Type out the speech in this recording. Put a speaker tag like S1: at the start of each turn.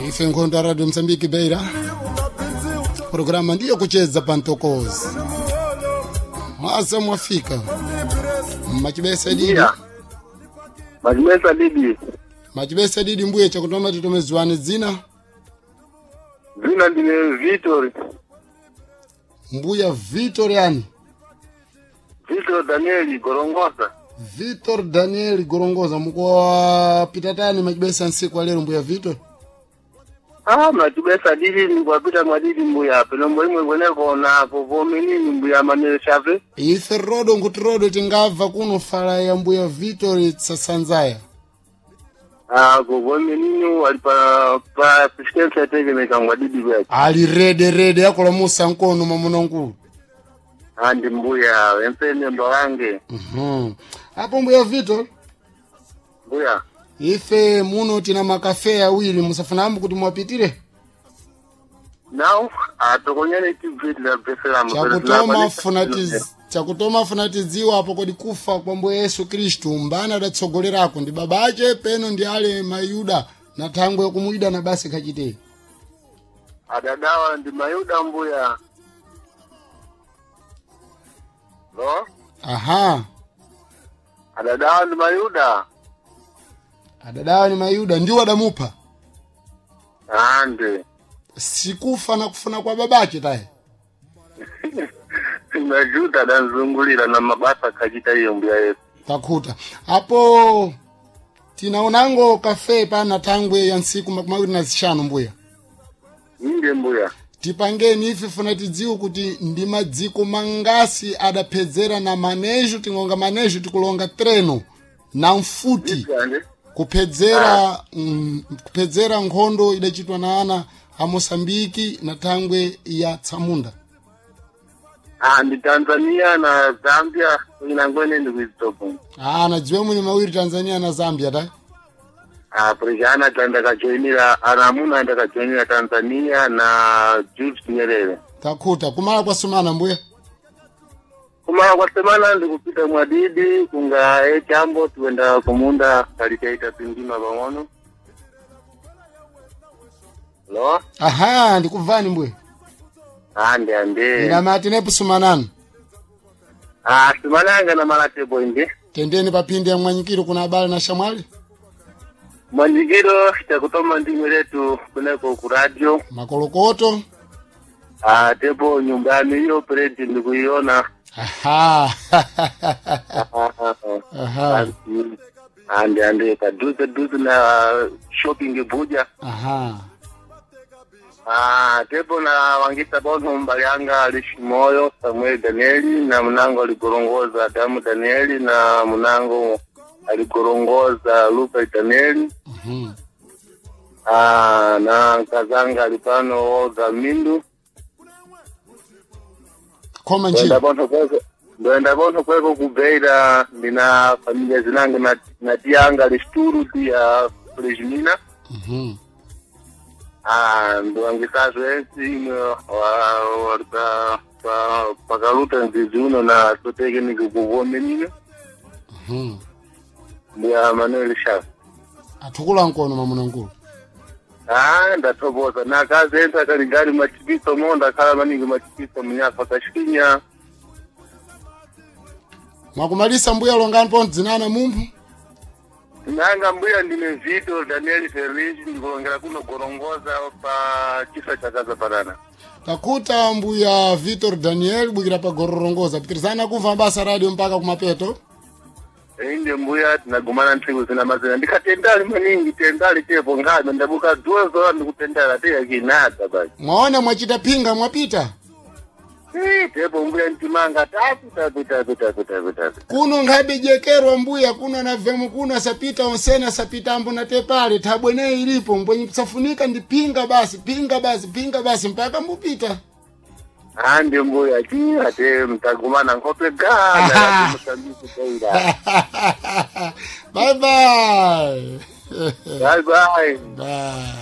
S1: Ife nkhondo ya Radio Msambiki Beira, programa ndiyo kucheza pantokozi mwasa mwafika machibesa didi.
S2: Yeah. Machibesa didi.
S1: Machibesa didi mbuye chakutoma titomeziwane dzina.
S2: Zina ndine Vitor.
S1: Mbuya Vitor yani?
S2: Vitor Danieli Gorongosa.
S1: Vitor Daniel Gorongosa, mukuwapita tani machibesa nsiku alero mbuya Vitor?
S2: Ah, machibesa didi ndikuwapita mwadidi mbuya penombo imwe kweneko napo vomenini mbuya Manuel Chave.
S1: Ife rodo nkuti rodo tingabva kuno fala ya mbuya Vitor tsasanzaya.
S2: Ah, kuvomenini wali pa assistance yategemeka mwadidi bwake.
S1: Ali rede rede yakulamusa nkono mamunankulu.
S2: Andi mbuya empene mba wange.
S1: Apo mbuya Vitor,
S2: Mbuya.
S1: ife muno tina makafe awiri musafanambo kuti mwapitire.
S2: Now, atokonyane tibviti la besela.
S1: Chakutoma funa tidziwa apo kodi kufa kwa mbuye Yesu Khristu mbana adatsogolerako ndi baba ache peno ndi ale mayuda na thangwe yokumuyida na basi khachitei.
S2: Adadawa ndi mayuda mbuya. No?
S1: Aha.
S2: Adadawa ndi mayuda.
S1: Adadawa ni mayuda ndiwo adamupha.
S2: Ande.
S1: Sikufa na kufuna kwa babache taye.
S2: Majuda adanzungulira na mabasa kachita iyo mbuya Yesu.
S1: Takhuta apo tinaonango kafe pana thangwe ya ntsiku 25 mbuya.
S2: Inde mbuya.
S1: Tipangeni ife funa tidziwe kuti ndi madziko mangasi adaphedzera na manejo tingonga manejo tikulonga treno na mfuti kuphedzera kuphedzera nkhondo idachitwa na ana a Mosambiki na thangwe ya Tsamunda.
S2: Ah, ndi Tanzania na Zambia inangwene ndi kuizitopo.
S1: Ah, nadziwe muni mawiri Tanzania na Zambia ta.
S2: Ah, prejana tandakajoinira anamuna ndakajoinira Tanzania na Julius Nyerere.
S1: Takhuta kumala kwa sumana mbuya.
S2: Kumala kwa semana ndikupita mwadidi kunga echambo tuenda kumunda kalitaita pindima pang'ono. Lo?
S1: Aha, ndikubvani mbuya.
S2: Ande ande.
S1: Ndamati nepo sumanani.
S2: Ah, sumananga na malatebo inde.
S1: Tendeni papindi ya mwanyikiro kuna abale na shamwali.
S2: Mwanyikiro chakutoma ndimwe letu kuneko ku radio.
S1: Makolokoto.
S2: Ah, tepo nyumbani hiyo predi ndikuiona.
S1: Aha. Aha.
S2: Ande ande paduze duze na shopping buja.
S1: Aha.
S2: Ah, tepo na wangita bono mbalianga alishimoyo Samuel Danieli na munango alikorongoza Adamu Danieli na munango alikorongoza Luka Danieli. Ah, na kazanga alipano Olga Mindu.
S1: Koma njira.
S2: Ndoenda bono kweko kubeira ndina familia zinange na tianga lishturu tia Flejmina. Ah, ndoangisazo ensi imwe pakaluta nzizi uno na sotekeniki kuvome nino. Mbuya Manuel Shafi.
S1: Athukula nkono mamunankulu.
S2: Ah, ndathokoza nakazi ensi akaligari machipiso mo ndakhala maningi machipiso munyafa kashinya.
S1: Mwakumalisa mbuya longani po dzinana mumphu.
S2: Nanga mbuya ndine Vito Daniel Ferris ndikulongera kuno Gorongoza pa chisa cha Kaza Parana.
S1: Takuta mbuya Vitor Daniel bwikira pa Gorongoza. Pitirizana kumva basa radio mpaka kumapeto.
S2: Inde mbuya tinagumana nthiku zina mazina ndikatendali maningi tendali tepo ngame ndabuka dzuwa zola ndikutendala teya kinadza basi.
S1: Mwaona mwachita pinga mwapita.
S2: Tepo mbuya ntimanga tapi tapi tapi tapi tapi tapi.
S1: Kuno nkhabe jekerwa mbuya kuno na vemu kuno asapita onsena asapita ambo na tepale thabwene ilipo mbwenye kusafunika ndi pinga basi pinga basi pinga basi mpaka mbupita.
S2: Andi mbuya chiya te mtagumana nkhope gana Mosambiki Beira.
S1: Bye bye.
S2: Bye bye.
S1: Bye.